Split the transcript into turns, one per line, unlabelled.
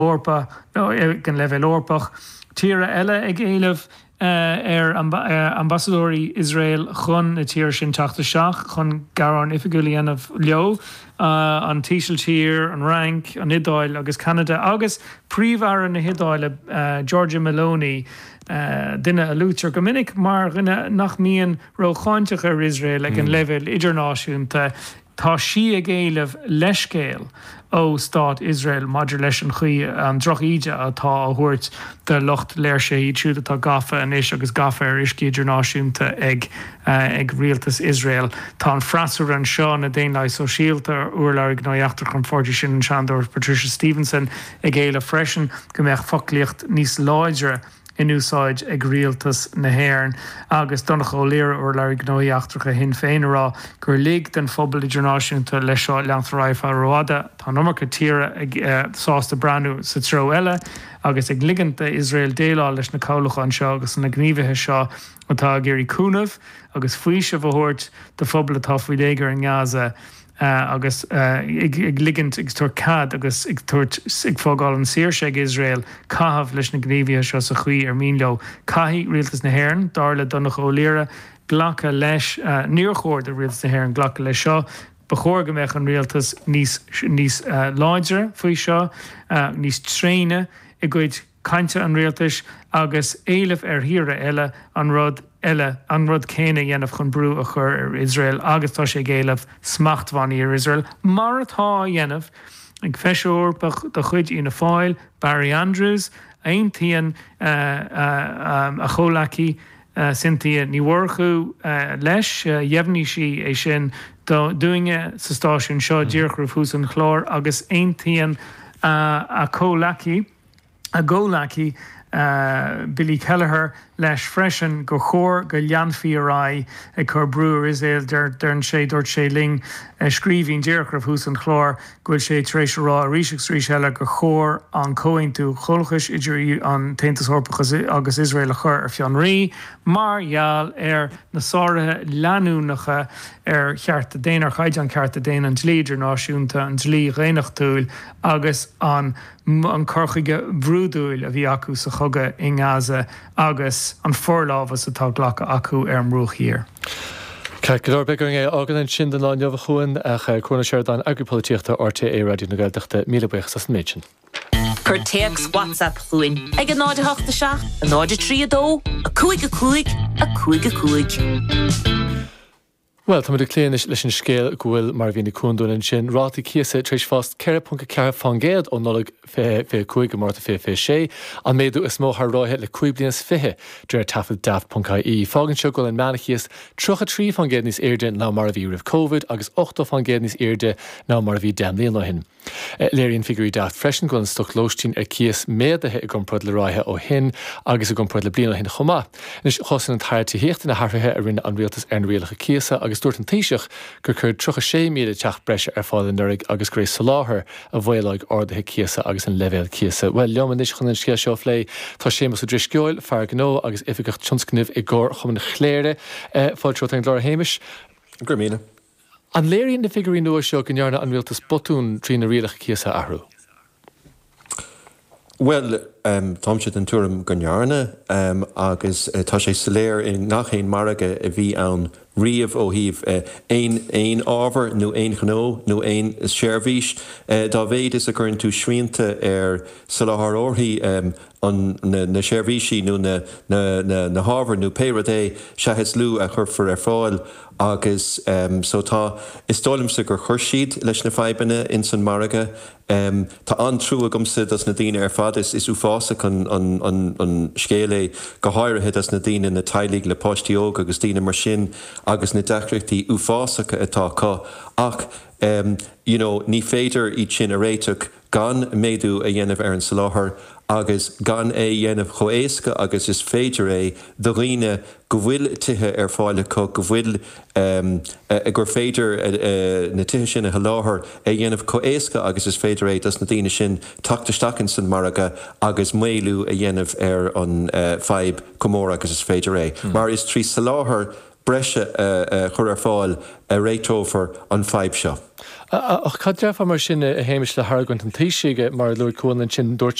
hEorpa nó ag an leibhéal Eorpach. Tíortha eile ag éileamh ar ambasadóirí Iosrael chun na tíre sin teacht isteach chun gearán oifigiúil a dhéanamh leo, an tÍsiltír, an Fhrainc, an Iodáil agus Ceanada agus Príomh-Aire na hIodáile Giorgia Meloni, duine a luaitear go minic mar dhuine nach mbíonn rócháinteach ar Iosrael ag an leibhéal idirnáisiúnta. Tá sí ag éileamh leithscéal ó stát Iosrael maidir leis an chaoi, an droch-íde atá á thabhairt do lucht léirsithe, iad siúd atá gafa anois agus gafa ar uiscí idirnáisiúnta ag ag rialtas Iosrael. Tá an freasúra anseo, na Daonlathaigh Sóisialta, urlabhraí gnóthaí eachtracha an pháirtí sin, an Seanadóir Patricia Stevenson, ag éileamh freisin go mbeadh foclaíocht níos láidre in úsáid ag rialtas na hÉireann agus Donnchadh Ó Laoghaire, urlabhraí gnóthaí eachtracha Shinn Féin, ag rá gur lig den phobal idirnáisiúnta leis seo leanacht ar aghaidh ar feadh rófhada. Tá an iomarca tíortha ag sásta breathnú sa treo eile agus ag ligint d'Iosrael déileáil leis na cabhlacha anseo agus na gníomhaithe seo atá ag iarraidh cúnamh agus faoiseamh a thabhairt do phobal atá faoi léigear i nGaza. agus ag ligint, ag tabhairt cead agus ag tabhairt, ag fágáil an saoirse ag Iosrael caitheamh leis na gníomhaithe seo sa chaoi ar mian leo. Caithfidh Rialtas na hÉireann, dar le Donnchadh Ó Laoghaire, glacadh leis. Níor chóir do Rialtas na hÉireann glacadh leis seo. Ba chóir go mbeadh an rialtas níos, níos láidre faoi seo, níos tréine i gcuid cainte an rialtais agus éileamh ar thíortha eile an rud eile, an rud céanna a dhéanamh chun brú a chur ar Iosrael agus tá sé ag éileamh smachtbhannaí ar Iosrael, mar atá á dhéanamh ag Feisire Eorpach de chuid Fhianna Fáil, Barry Andrews. Aontaíonn a chomhleacaí Cynthia Ní Mhurchú leis, dheimhnigh sí é sin dúinne sa stáisiún seo díreach roimh thús an chláir agus aontaíonn a comhleacaí, a gcomhleacaí Billy Kelleher leis freisin gur chóir go leanfaí ar aghaidh ag cur brú ar Iosrael. Deireann sé, dúirt sé linn i scríbhinn díreach roimh thús an chláir go bhfuil sé tar éis a rá arís agus arís eile gur chóir an comhaontú comhlachais idir an tAontas Eorpach agus Iosrael a chur ar fionraí mar gheall ar na sáruithe leanúnacha ar chearta daonna, ar chaighdeán cearta daonna, an dlí idirnáisiúnta, an dlí dhaonnachtúil agus an an cur chuige brúidiúil a bhí acu sa chogadh i nGaza agus an forlámhas atá glactha acu ar an mBruach Thiar.
Ceart go leor, beidh orainn é a fhágáil ansin don lá inniu a Chuain, ach Cuan Ó Seireadáin, Eagraí Polaitíochta RTÉ Raidió na Gaeltachta, míle buíochas as an méid sin.
Cuir téacs WhatsApp chugainn ag 0 8 7 0 3 2 5 5 5 5.
Bhuel, táimid ag cloí anois leis an scéal go bhfuil, mar a mhínigh Cuan dúinn ansin, rátaí cíosa tar éis fás 4.4 fán gcéad ó Nollaig 2025 go Márta 2026, an méadú is mó thar ráithe le cúig bliana is fiche, de réir taifead Daft.ie. Fágann seo go bhfuil an meánchíos 33 fán gcéad níos airde ná mar a bhí roimh Covid agus 80 fán gcéad níos airde ná mar a bhí 10 mbliana ó shin. Léiríonn figiúirí Daft freisin go bhfuil an stoc lóistín ar cíos méadaithe i gcomparáid le ráithe ó shin agus i gcomparáid le bliain ó shin chomh maith. Anois, chosain an tAire Tithíochta na hathruithe a rinne an Rialtas ar na rialacha cíosa agus dúirt an Taoiseach gur cuireadh 36,000 teach breise ar fáil anuraidh agus gur é soláthar a mhaolóidh arduithe cíosa agus an leibhéal cíosa. Bhuel, liom anois chun an scéal seo a phlé tá Séamus Ó Drisceoil, fear gnó agus oifigeach tionscnaimh i gComharchumann Chléire. Fáilte romhat ar an gclár, a Shéamais.
Go raibh míle.
An léiríonn na figiúirí nua seo go ndearna an rialtas botún trí na rialacha cíosa a athrú?
Bhuel, táimse den tuairim go ndearna, agus tá sé soiléir i ngach aon margadh a bhí ann riamh ó thaobh aon aon ábhar nó aon ghnó nó aon seirbhís, dá mhéad is a chuireann tú srianta ar soláthróirí an, na seirbhísí nó na, na, na hábhair nó pé rud é, sea is lú a chuirfear ar fáil agus so tá, is dóigh liomsa gur chuir siad leis na fadhbanna ins an margadh. Tá an-trua agamsa dos na daoine ar fad, is, is uafásach an, an, an, an scéal é, go háirithe dos na daoine, na teaghlaigh le páistí óga agus daoine mar sin agus na deacrachtaí uafásacha atá acu ach you know ní féidir iad sin a réiteach gan méadú a dhéanamh ar an soláthar agus gan é a dhéanamh chomh éasca agus is féidir é do dhaoine go bhfuil tithe ar fáil acu, go bhfuil, gur féidir na tithe sin a sholáthar, é a dhéanamh chomh éasca agus is féidir é dos na daoine sin teacht isteach ins an margadh agus maolú a dhéanamh ar an fadhb chomh mór agus is féidir é. Mar is trí soláthar. breise a chur ar fáil a réiteofar an fadhb seo.
Ach cad déarfá mar sin, a Shéamais, le hargóint an Taoisigh, mar a luaigh Cuan ansin, dúirt.